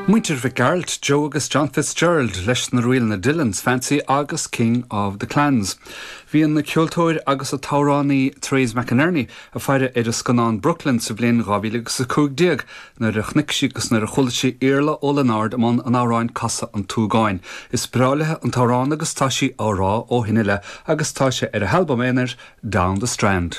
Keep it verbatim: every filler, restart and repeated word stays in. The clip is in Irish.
Muintir Mhic Gearailt, Joe agus John Fitzgerald leis na ríleanna Dillon's Fancy agus King of the Clans. Bhí an ceoltóir agus an t-amhránaí Therese McInerney ag faire ar an scannán Brooklyn sa bhliain dhá mhíle agus a cúig déag nuair a chonaic sí agus nuair a chuala sí Iarla Ó Lionáird i mbun an amhráin Casadh an tSúgáin. Is breá léi an t-amhrán agus tá sí á rá ó shin i leith agus tá sé ar a halbam aonair Down the Strand.